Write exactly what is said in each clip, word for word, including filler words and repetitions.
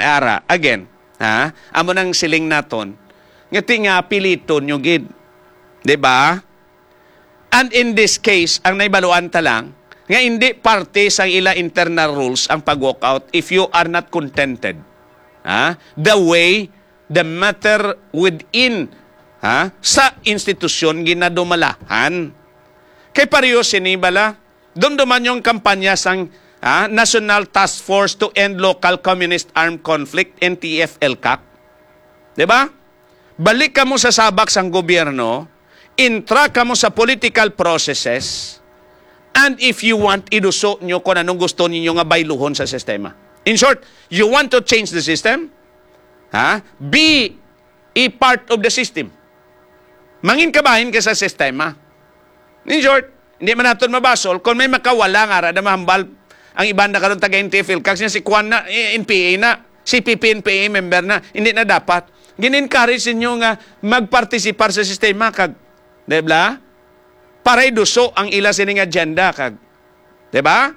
ara, again, ha? Amo nang siling naton, nga ti nga apiliton nyo gid. Di ba? And in this case, ang naibaluan ta lang, nga hindi parte sa ila internal rules ang pag-walk out if you are not contented, ha? The way the matter within, ha, sa institusyon ginadumalahan. Kay pareho sini bala, dumduman yung kampanya sang, ha, National Task Force to End Local Communist Armed Conflict, N T F L CAC. Di ba? Balik kamo sa sabak sang gobyerno, intra kamo sa political processes, and if you want, iduso nyo kung anong gusto ninyo nga bayluhon sa sistema. In short, you want to change the system? Ha? Be a part of the system. Mangin kabahin ka sa sistema. In short, hindi man naton mabasol kung may makawala nga ara na mahambal ang iban na karon taga N T F L CAC, siya si Kwan na, eh, N P A na, C P P N P A member na, hindi na dapat. Gin-encourage ninyo nga magpartisipar sa sistema kag, di ba? Para iduso ang ila sining agenda kag, di ba?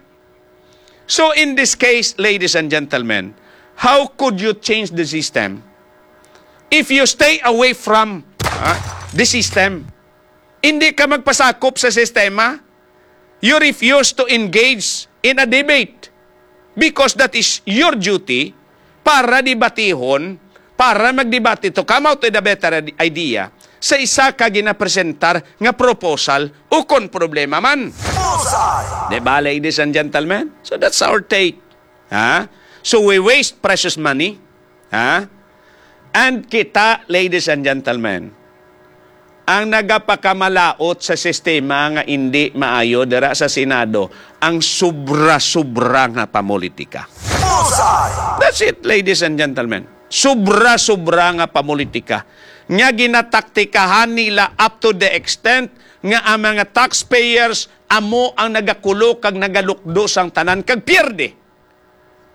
So in this case, ladies and gentlemen, how could you change the system if you stay away from, ah, the system? Hindi ka magpasakop sa sistema. You refuse to engage in a debate because that is your duty para debatihon, para magdebate to come out with a better id-, idea sa isa ka ginapresentar nga proposal o kon problema man. Bullseye! Di ba, ladies and gentlemen? So that's our take. Ha? So we waste precious money. Ha? And kita, ladies and gentlemen, ang nagapakamalaot sa sistema nga indi maayo dira sa Senado, ang sobra-sobra nga pamulitika. Bullseye! That's it, ladies and gentlemen. Sobra-sobra nga pamulitika nga ginataktikahan nila up to the extent nga ang mga taxpayers amo ang nagakulo kag nagalukdo sang tanan kag pierde.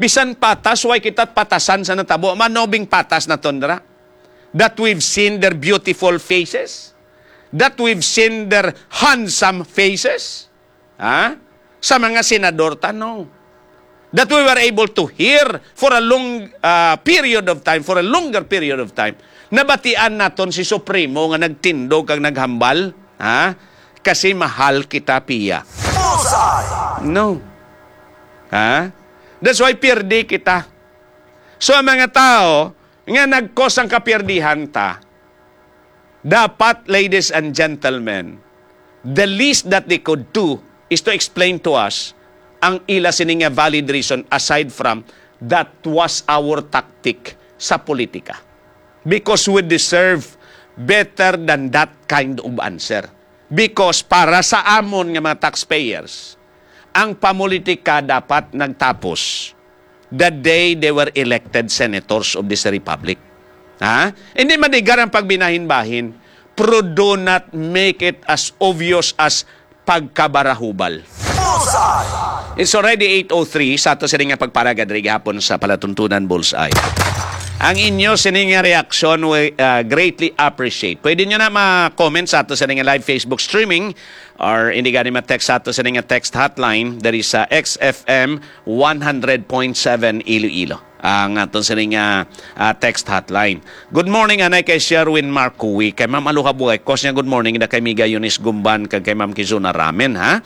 Bisan patas, way kita patasan sa natabo. Manobing patas na tundra. That we've seen their beautiful faces. That we've seen their handsome faces. Ha? Sa mga senador ta, no. That we were able to hear for a long, ah, period of time, for a longer period of time. Nabatian naton si Supremo nga nagtindog kag naghambal, ha? Kasi mahal kita, Pia. Bullseye! No. Ha? That's why pirdi kita. So, ang mga tao nga nagkos ang kapirdihan ta, dapat, ladies and gentlemen, the least that they could do is to explain to us ang ila sini nga valid reason aside from that was our tactic sa politika. Because we deserve better than that kind of answer. Because para sa amon nga mga taxpayers, ang pamulitika dapat nagtapos the day they were elected senators of this republic. Ha? Hindi madigar ang pagbinahin-bahin, pero do not make it as obvious as pagkabarahubal. Bullseye! It's already eight oh three sa ato sini nga pagparaga diri gihapon sa Palatuntunan Bullseye. Ang inyo sini nga reaksyon, we, uh, greatly appreciate. Pwede nyo na ma-comment sa ato sini nga live Facebook streaming or hindi gani ma-text sa ato sini nga text hotline diri sa X F M one hundred point seven Iloilo. Ang aton sini nga, ah, text hotline. Good morning, anay kay Sherwin Marcoy. Kay Ma'am Aloha Buhay, kos niya, good morning, da kay Miga Eunice Gumban, kag kay Ma'am Kizuna Ramen, ha?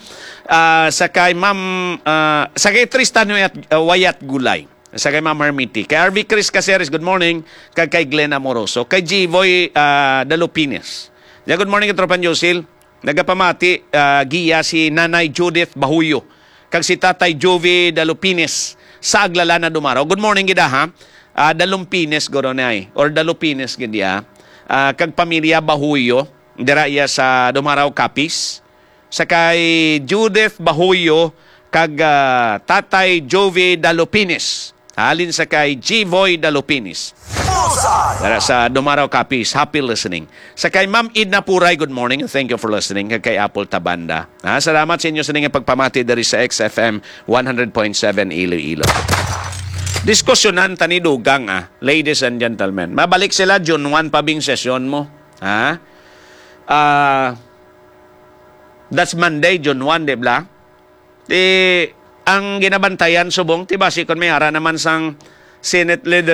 Ah, sa kay Ma'am, ah, sa kay Tristan Wayat, ah, Wayat Gulay. Sa kay Ma'am Hermiti. Kay R V Chris Caceres, good morning. Kag kay Glenn Amoroso. Kay Jivoy, ah, Dalupines. Ya, good morning, Katropan Josil. Nagapamati, ah, giya si Nanay Judith Bahuyo kag si Tatay Jovi Dalupines sa Aglalan na Dumaraw. Good morning gid, ha. Ah, Dalumpines guro ni ay, or Dalupines gid ya. Ah, kag pamilya Bahuyo dira iya sa Dumaraw, Capiz. Sa kay Judith Bahuyo kag, ah, Tatay Jovi Dalupines. Halin sa kay Jivoy Dalupinis. Bullseye! Dara sa Dumaraw, Capiz, happy listening. Sa kay Ma'am Edna Puray, good morning and thank you for listening. Kag kay Apple Tabanda. Ha, salamat sa inyo sa nga pagpamati diri sa X F M one hundred point seven Iloilo. Diskusyonan tani dugang, ah, ladies and gentlemen. Mabalik sila June one pa bing sesyon mo. Ha? Ah, that's Monday, June one, di ba? Ti, ang ginabantayan subong, ti basi kon may ara naman sang Senate leader